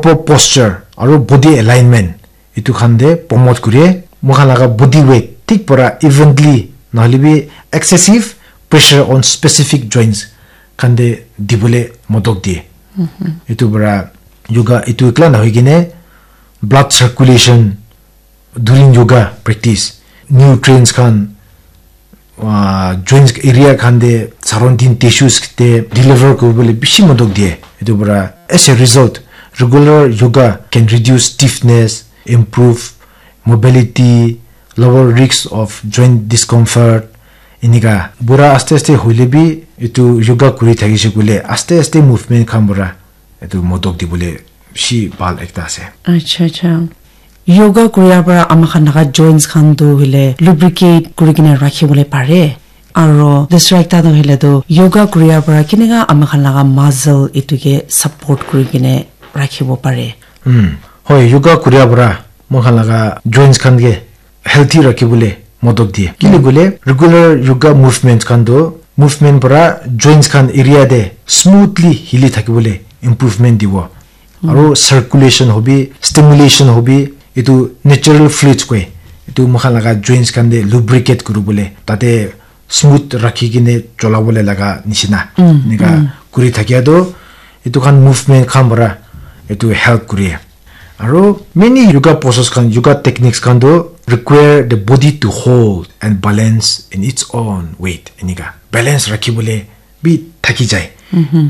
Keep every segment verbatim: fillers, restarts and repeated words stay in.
proper posture aru body alignment, etu khan te promote kure. Moi khan laga body weight thik para evenly, nahole bi excessive pressure on specific joints khan te dibole modok die. Etu para yoga etu ekla nahoi kene blood circulation during yoga practice, nutrients khan, uh, joints area khan te, surrounding tissues te deliver kuribole bishi modok die. Etu para, as a result, regular yoga can reduce stiffness, improve mobility, lower risk of joint discomfort. Enika bura aste aste hoile bi etu yoga kuri thakise koile aste aste movement khan para etu modok dibole bishi bhal ekta ase. Acha, acha. Yoga kuria para ama khan laga joints khan tu hoile lubricate kuri kena rakhi bole pare. Aro dusra ekta tu hoile tu yoga kuria para keneka ama khan laga muscle etu ke support kuri kena rakhi bo pare. Hmm. Hoi, yoga kuria para moi khan laga joints khan ke healthy rakhi bole modok die. Kile koile regular yoga movement khan tu movement para joints khan area te smoothly hili thaki bole improvement dibo. Aro circulation hobi, stimulation hobi, etu natural fluids koi. Etu moi khan laga joints khan te lubricate kuri bole, tate smooth rakhi kene chola bole laga nishina. Enika kuri thakia tu etu khan movement khan para etu help kuri. Aro many yoga poses khan, yoga techniques khan tu require the body to hold and balance in its own weight. Enika balance rakhi bole bi thaki jai.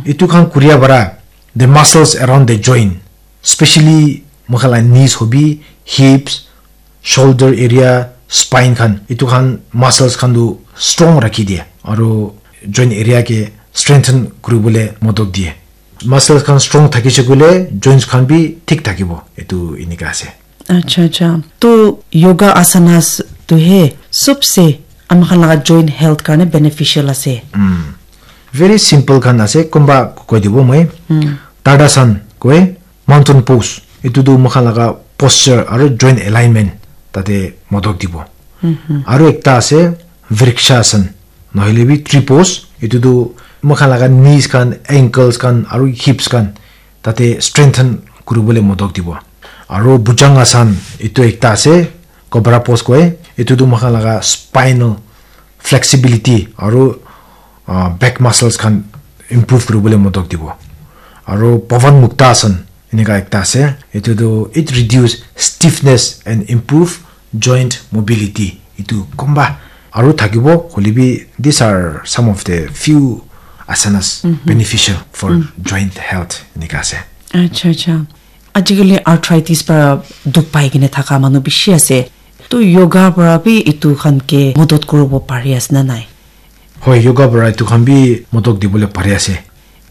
Etu khan kuria para the muscles around the joint, specially moi khan la knees hobi, hips, shoulder area, spine khan, etu khan muscles khan tu strong rakhi die. Aro joint area ke strengthen kuri bole modok die. Muscles khan strong thakise koile joints khan bi thik thakibo. Etu enika ase. Acha, acha. To yoga asanas to he sobse ama khan laga joint health karne beneficial ase. Very simple khan ase, kumba koi dibo moi. Tadasan koi, mountain pose. Etu tu moi khan laga posture aro joint alignment tate modok dibo. Aro ekta ase Vrikshasana, nohole bi tree pose. Etu tu moi khan laga knees khan, ankles khan aro hips khan tate strengthen kuribole modok dibo. Aro Bhujangasana, etu ekta ase, cobra pose koi. Etu tu moi khan laga spinal flexibility aro, ah, back muscles khan improve kuribole modok dibo. Aro Pawan Muktasana enika ekta ase. Etu tu it reduce stiffness and improve joint mobility. Etu kumba aro thakibo, hoile bi these are some of the few asanas beneficial for joint health enika ase. Acha, acha. Ajikali arthritis para dukh pai kene thaka manu bishi ase. To yoga para bi etu khan ke modot kuribo pari ase na nai? Hoi, yoga para etu khan bi modot dibole pari ase.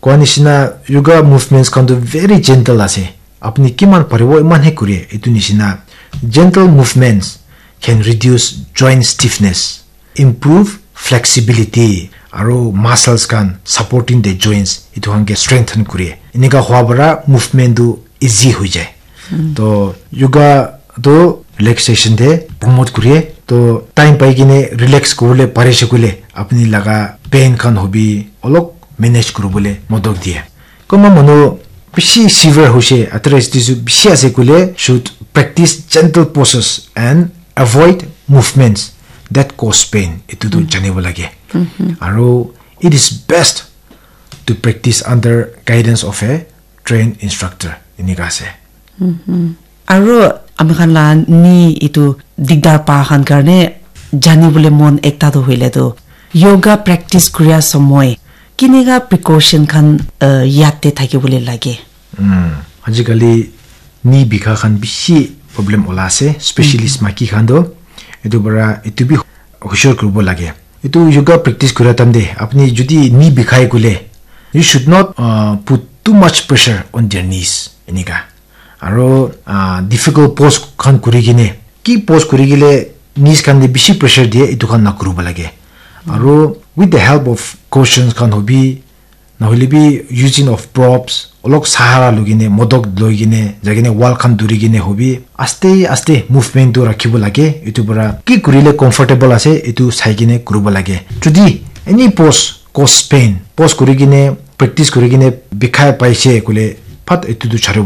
Koa nishina, yoga movements khan tu very gentle ase. Apni kiman paribo iman he kure. Etu nishina, gentle movements can reduce joint stiffness, improve flexibility, aro muscles khan supporting the joints, etu khan ke strengthen kure. Enika hua para movement tu easy hoi jai. To yoga tu relaxation te promote kure. To time pai kene relax kuribole parise koile apni laga pain khan hobi olop manage kuribole modot die. Kunba manu bishi severe hoise, arthritis bishi ase koile should practice gentle poses and avoid movements that cause pain. Etu tu janibo lage. Aro it is best to practice under guidance of a trained instructor. Enika ase. Aro ami khan la knee etu digdar pa khan karne jani bole mon ekta tu hoile tu yoga practice kuria somoy kinika precaution khan, uh, yate thaki bole lage. Ajikali knee bikha khan bishi problem ola ase, specialist maki khan tu. Etu para etu bi hushar kuribo lage. Etu yoga practice kura time te apni jodi knee bikhai koile, you should not, uh, put too much pressure on their knees. Enika. Aro, ah, difficult pose khan kuri kene, ki pose kuri kele knees khan te bishi pressure diye, etu khan na kuribo lage. Aro with the help of cushions khan hobi, nahole bi using of props, olok sahara loi kene, modok loi kene, jai kene wall khan duri kene hobi, aste aste movement tu rakhibo lage. Etu para ki kurile comfortable ase, etu sai kene kuribo lage. Jodi any pose cause pain, pose kuri kene, practice kuri kene bikhai paise koile, phat etu tu charibo